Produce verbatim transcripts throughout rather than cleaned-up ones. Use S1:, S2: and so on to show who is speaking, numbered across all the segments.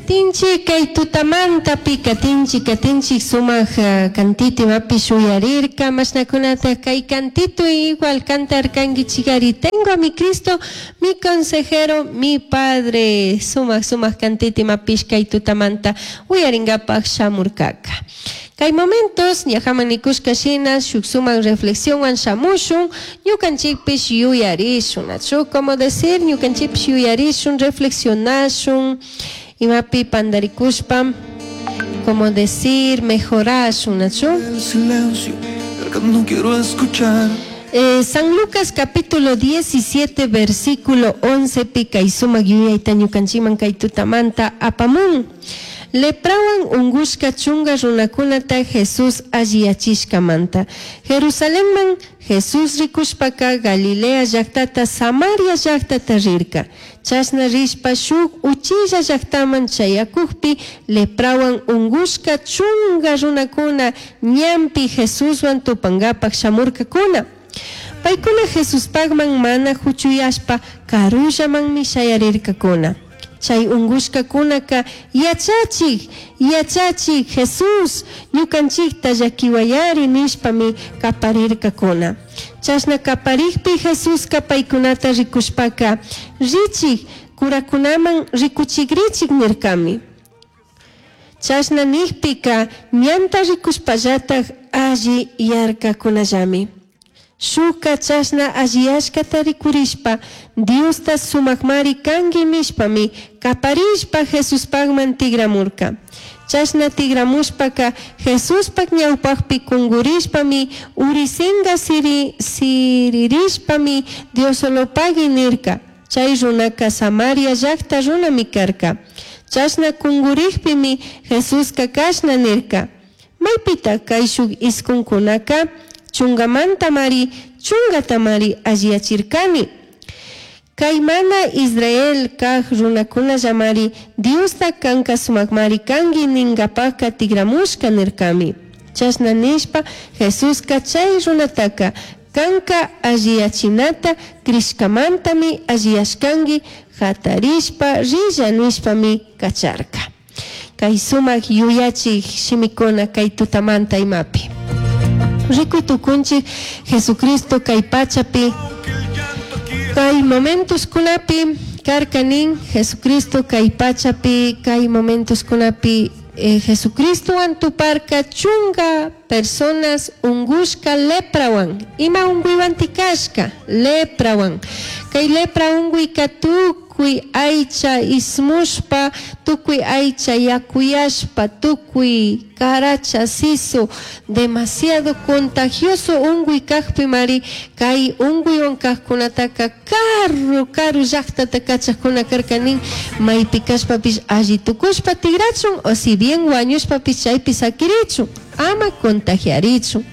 S1: Katinchik kay tutamantapi katinchik katinchik sumaq uh, kantito imapish uyarirka mashnakunata kay kantito igual cantarkankichikari. Tengo a mi Cristo, mi consejero, mi padre. Sumaq sumaq kantito imapish kay tutamanta uyaringapaq shamurkaka. Kay momentos ñajaman nikushka shina shuk sumaq reflexionwan shamushun, ñukanchikpish yuyarishun, nachu? Como decir, ñukanchikpish yuyarishun, reflexionashun, imapi pandarikushpa, como decir, mejorashun, nachu?
S2: El silencio, el que no quiero escuchar.
S1: Eh, San Lucas capítulo diecisiete versículo once pi kay sumak yuyayta ñukanchikman kay tutamanta apamun. Leprawan ungushka chunga runakunata Jesús alliyachishkamanta. Jerusalenman Jesús rikushpaka Galilea llaktata, Samaria llaktata rirka. Chashna rishpa shuk uchilla llaktaman chayakukpi leprawan ungushka chunga runakuna ñanpi Jesuswan tupangapak shamurkakuna. Paykuna Jesuspakman mana huchuyashpa karullamanmi shayarirkakuna. Chay ungushkakunaka yachachik, yachachik Jesús, ñukanchikta llakiwayari nishpami kaparirkakuna. Chashna kaparikpi Jesuska paykunata rikushpaka richik, kurakunaman rikuchikrichik nirkami. Chashna nikpika ñanta rikushpallatak alli yarkakunallami. Shuka chashna alliyashkata rikurishpa Diosta sumakmari kanki nishpami kaparishpa Jesuspakman tigramurka. Chashna tigramushpaka Jesuspak ñawpakpi kungurishpami urisinga siri, siririshpami Diosolopagui nirka. Chay runaka Samaria llakta runami karka. Chashna kungurikpimi Jesuska kashna nirka: Maypita kayshuk iskunkunaka? Chungamantamari chungatamari alliyachirkani. Kay mana Israel kaj runakunallamari Diosta kanka sumakmari kanki ninkapaka tigramushka nirkami. Chashna nishpa Jesuska chay runataka kanka alliyachinata crishkamantami alliyashkanki, hatarishpa rilla nishpami kacharka. Kay sumak yuyachik shimikuna kay tutamanta imapi. Rikuy tukunchik Jesucristo kay pachapi kay momentos kunapi karkanin Jesucristo kay pachapi kay momentos kunapi eh, Jesucristowan tuparka chunga personas ungushka leprawan ima unguywan tikashka leprawan kay lepra unguyka tukuy aycha ismushpa tukuy aycha yakuyashpa tukuy karacha sisu demasiado contagioso unguy kajpi mari kay unguywan kajkunataka karu karu llaktata kachajkuna karkanin maypi kashpapish alli tukushpa tigrachun o si bien wañushpapish chaypi sakirichun ama contagiarichun.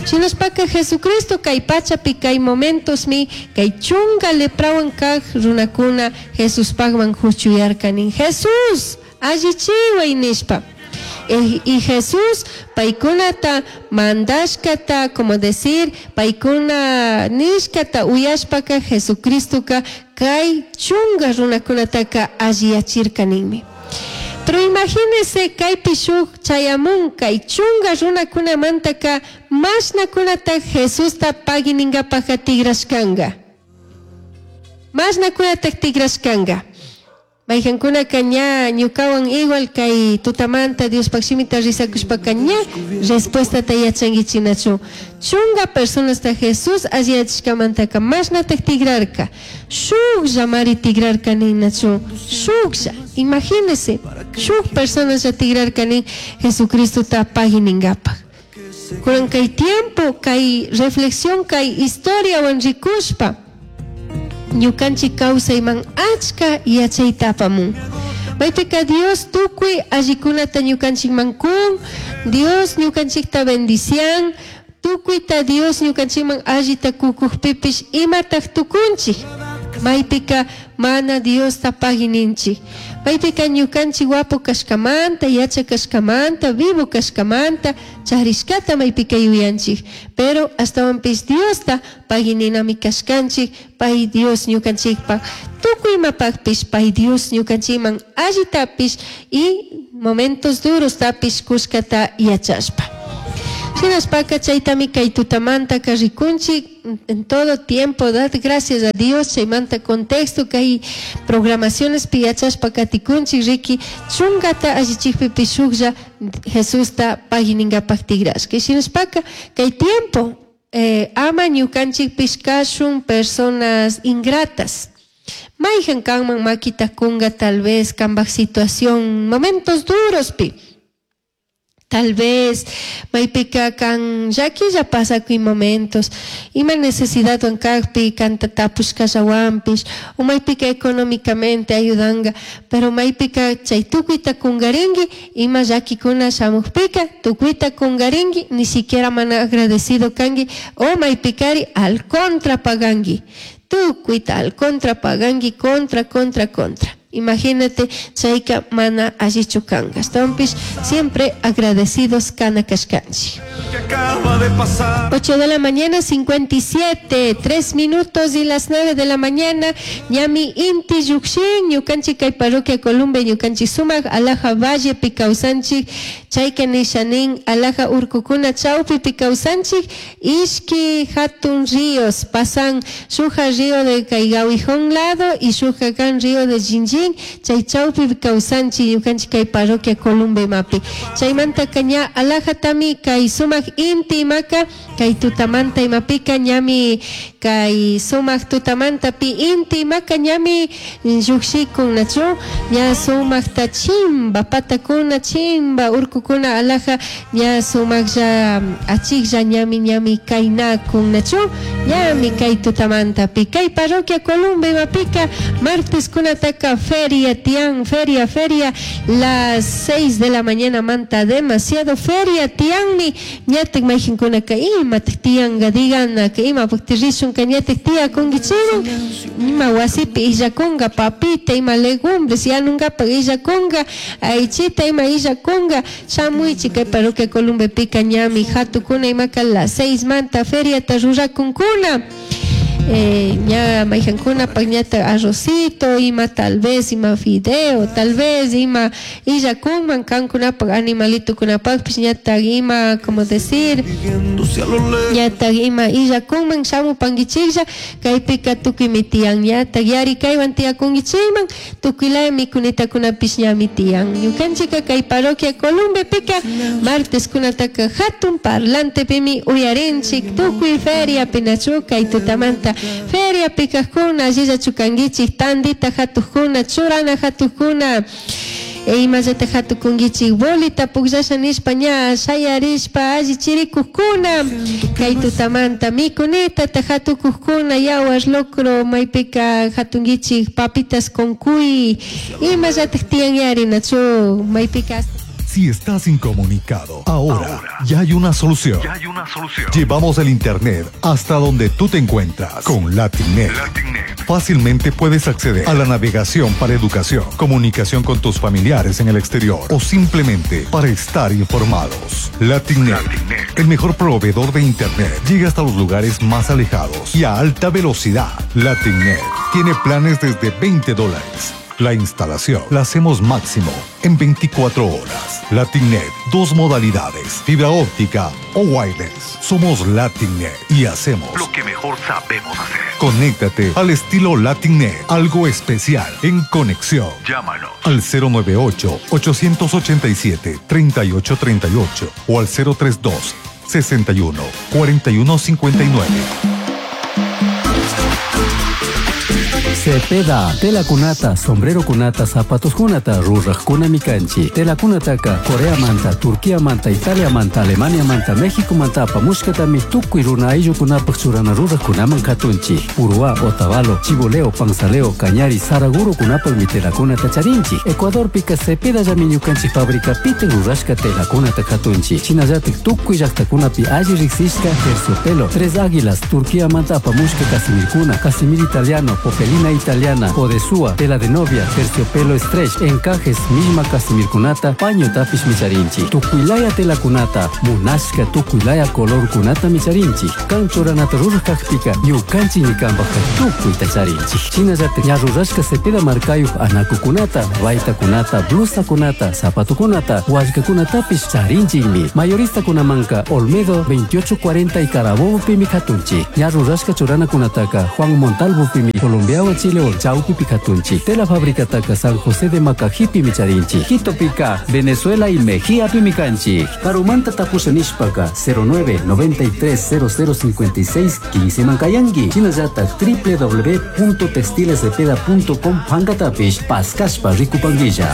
S1: Shinashpaka Jesucristo kay pachapi kay momentosmi kay chunga leprawan kaj runakuna Jesuspakman huchuyarkanin Jesús allichiway nishpa. Eh, y Jesús paykunata mandashkata, como decir, paykuna nishkata uyashpaka Jesucristoka kay chunga runakunataka alliyachirkaninmi. Pero imagínese kaypi shuk chayamun kay chunga runakunamantaka mashnakunata Jesusta paginingapaka tigrashkanga. Mashnakunata tigrashkanga. Mayqankunaka ña ñukawan igual kay tutamanta Diospaq shimita risakushpaka ña respuestata yachankichinachu. Chunga personasta Jesús alliyachishkamantaka mashnatak tigrarka. Shuklla mari tigrarka ninachu. Shuklla. Imagínese, shuk personaslla tigrarka nin Jesucristota paginingapak. Kunan kay tiempo, kay reflexión, kay historiawan rikushpa ñukanchik kawsayman achka yachayta apamun. Maypika Dios tukuy allikunata ñukanchikman kun, Dios ñukanchikta bendician, tukuyta Dios ñukanchikman allita kukukpipish imataq tukunchik. Maypika mana Diosta pagininchik. Maypika ñukanchik guapo kashkamanta, yacha kashkamanta, vivo kashkamanta, charishkata maypika yuyanchik. Pero ashtawanpish Diosta pagininami kashkanchik, pay Dios ñukanchikpak. Tukuy imapakpish pay Dios ñukanchikman allitapish y momentos duros tapish kushkata yachashpa. Shinashpaka chaytami kay tutamantaka rikunchik en todo tiempo, dad gracias a Dios, chaymanta contexto kay programaciones yachashpa katikunchik riki chungata allichikpipish shuklla Jesusta pagininkapak tigrashka. Shinashpaka kay tiempo eh, ama ñukanchikpish kashun personas ingratas. Mayjan kanman makita kunga tal vez kambaj situación momentos duros pi. Tal vez maypika kan llaquilla pasakuy momentos ima necesidad kakpi kanta tapushkallawanpish o maypika económicamente ayudanga pero maypika chay tukuyta kungarinki ima llakikuna shamukpika tukuyta kungarinki ni siquiera mana agradecido kanki o maypikari al contra paganki tukuyta al contra paganki contra contra contra. Imagínate, chayka mana allichu kanka. Ashtawanpish siempre agradecidos kana kashkanchik.
S2: Que acaba de pasar.
S1: ocho de la mañana, cincuenta y siete, tres minutos y las nueve de la mañana. Ñami inti llukshin, ñukanchik kay parroquia Columbe, ñukanchik sumak, alaja valle pikawsanchik, chayka nishanin, alaja urkukuna chawpi pikawsanchik, ishki hatun ríos, pasan shuja río de Kaygawijón lado y shuja kan río de Jinjin, chay chawpi kawsanchik, ñukanchik kay parroquia Columbe mapi. Chaymanta kaña alaja tami kay sumak inti imaka, kay tutamanta imapika ñami kay sumak tutamanta pi inti imaka ñami llukshikun nachu, ña sumakta chimba patakuna chimba urkukuna alaja ña sumaklla achiklla ñami ñami kaynakun nachu, ñami kay tutamanta pi kay parroquia Columbe imapika martes kunataka feria tian, feria, feria, las seis de la mañana manta demasiado feria tianmi ñatek mayjinkunaka imatak tianga digana que ima paktirishun ñatek tia kungichimun ima wasipi illakunga papita ima legumbres yanungapak illakunga aychita ima illakunga shamuychik kay parroquia Columbe pika ñami hatukuna imaka las seis manta feriata rurakunkuna. Eh, ña mayjankuna ñata arrocito, ima tal vez, ima fideo, tal vez, ima illakunman kankunapaq animalitukunapaqpis ñata ima, como decir, ñata ima illakunman shamupankichiklla, kaypika tukuymi tiyan ñata yarikaywan tiyakunkichikman, tukuylaya mikunitakunapis ñami tiyan. Ñukanchika kay parroquia Columbepika martes kunataka hatun parlantepimi uyarinchik tukuy feria pinachu kay tutamanta. Feria pikajkuna, allilla chukankichik, tandita hatukuna, churana hatukuna, e imallata hatukunkichik, bolita pukllasha nishpa ña shayarishpa alli chirikukuna, kay tutamanta mikunita ta hatukukuna, yawar locro maypika hatunkichik, papitas con cuy, imallata tiyan yarinachu, maypika.
S3: Si estás incomunicado, ahora, ahora ya hay una solución.
S4: Ya hay una solución.
S3: Llevamos el internet hasta donde tú te encuentras con LatinNet.
S4: LatinNet.
S3: Fácilmente puedes acceder a la navegación para educación, comunicación con tus familiares en el exterior o simplemente para estar informados. LatinNet,
S4: LatinNet,
S3: el mejor proveedor de internet, llega hasta los lugares más alejados y a alta velocidad. LatinNet tiene planes desde veinte dólares. La instalación la hacemos máximo en veinticuatro horas. LatinNet, dos modalidades, fibra óptica o wireless. Somos LatinNet y hacemos
S4: lo que mejor sabemos hacer.
S3: Conéctate al estilo LatinNet, algo especial en conexión.
S4: Llámanos
S3: al cero nueve ocho, ocho ocho siete, tres ocho tres ocho o al cero tres dos, sesenta y uno, cuarenta y uno cincuenta y nueve.
S5: Cepeda, telakunata, sombrerokunata, zapatoskunata rurajkunami kanchik. Telakunataka Coreamanta, Turquiamanta, Italiamanta, Alemaniamanta, Mexicomanta apamushkatami tukuy runa ayllukunapaq churana rurajkunaman katunchik. Uruá, Otavalo, Chiboleo, Panzaleo, Cañari, Saragurokunapaqmi telakunata charinchik. Ecuadorpika Cepedallami ñukanchik fabricapita rurashka telakunata katunchik. Shinallatik tukuy llaqtakunapi alli riqsishka terciopelo, Tres Águilas, Turquiamanta apamushka casimirkuna, casimir italiano, popelina italiana, odesúa, tela de novia, terciopelo stretch, encajes, misma casimirkunata, paño tapish micharinchik. Tukuylaya telakunata, munashka tukuylaya colorkunata micharinchik. Kan churanata ruraj kakpika, ñukanchik ñikanpajka tukuyta charinchik. Shinallatik ña rurashka Cepeda markayuq anakukunata, baytakunata, blusakunata, zapatokunata, wallkakunatapish charinchikmi. Mayoristakunamanka Olmedo veintiocho cuarenta y Carabobo pimi katunchik. Ña rurashka churanakunataka Juan Montalvo pimi Colombiawan Chilewan chawpipi katunchik. Tela fabricataka San José de Macajipi micharinchik. Quitopika Venezuela y Mejía pimi kanchik. Karumanta tapusha nishpaka cero nueve noventa y tres cero cero cincuenta y seis quince mankayanki. Shinallatak w w w punto textilescepeda punto com pankatapish paskashpa rikupanguilla.